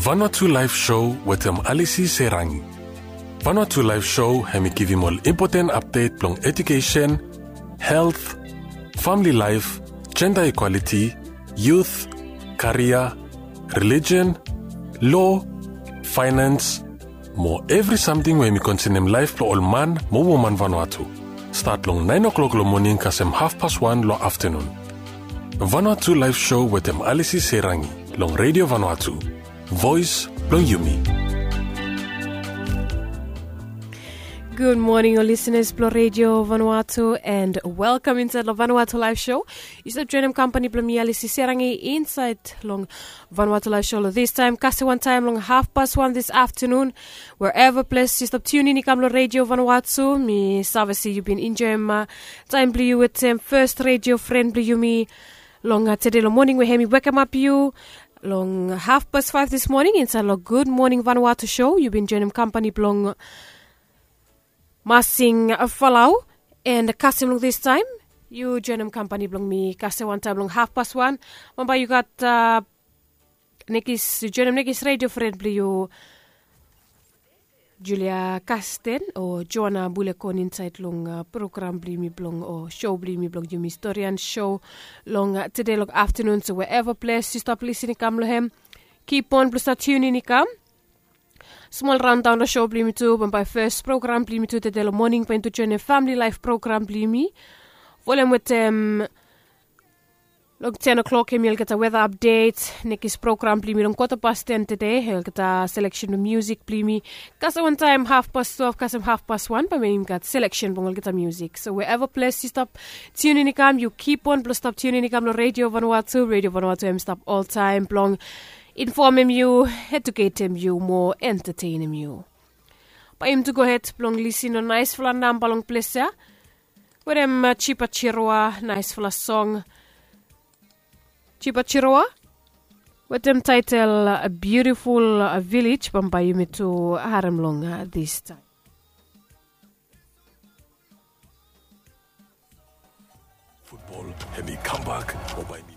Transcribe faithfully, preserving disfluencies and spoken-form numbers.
Vanuatu Live Show wetem Alisi Serangi. Vanuatu Live Show hemi givim ol impoten apdet blong edukesen, helt, famili laef, jenda ikwaliti, yut, karia, relijen, lo, faenans, mo evri samting we hemi konsenem laef blong ol man mo woman Vanuatu. Stat long naen oklok long moning kasem hafpas wan long aftanun. Vanuatu Live Show wetem Alisi Serangi long Redio Vanuatu, voes blong yumi. Gud moning ol lisenas blong Redio Vanuatu, and welkam insaed long Vanuatu Live Show. Yu stap joenem kampani blong mi, Alisi Serangi, insaed long Vanuatu Live Show long distaem, kasem wantaem long hafpas wan dis aftanun. Wherever ples yu stap tiunin i kam long Redio Vanuatu, mi save se yu bin enjoem taem blong yu wetem fes redio fren blong yumi long tede long moning we hemi wekemap yu long hafpas faef dis moning insaed long Gud Moning Vanuatu Show. Yu bin joenem kampani blong Masing Falau, and kasem long distaem yu joenem kampani blong mi kasem wantaem long hafpas wan. Bambae yu gat nekis, yu joenem nekis redio fren blong yu, Julia Kasten o Joana Bulekon, insaed long program blong yumi blong o show blong yumi blong yumi Historian Show long tede long aftanun. So wherever ples yu stap lisin i kam long hem, kipon blong stap tiunin i kam. Smol raondaon long show blong yumi tu, bambae fes program blong yumi tu tede long moning bae yumi tu joenem famili laef program blong yumi. Folem wetem long ten o'clock hemi olgeta weta apdet, nekis program blong yumi long kwata pas ten tede, olgeta seleksen blong musik blong yumi. Kasem wantaem hafpas twelve kasem hafpas wan bae yumi gat seleksen blong olgeta musik. So wherever ples yu stap tiunin i kam, yu kipon blong stap tiunin i kam long Redio Vanuatu. Redio Vanuatu hemi stap oltaem blong infomem yu, eduketem yu mo entatenem yu. Bae yumi tu gohed blong lisin long naesfala namba long ples ya wetem Jipa Jiroa, naesfala song. Jipa Jiroa wetem taetel Beautiful Village, bambae yumi tu harem long distaem. Futbol hemi kambak mo bae mi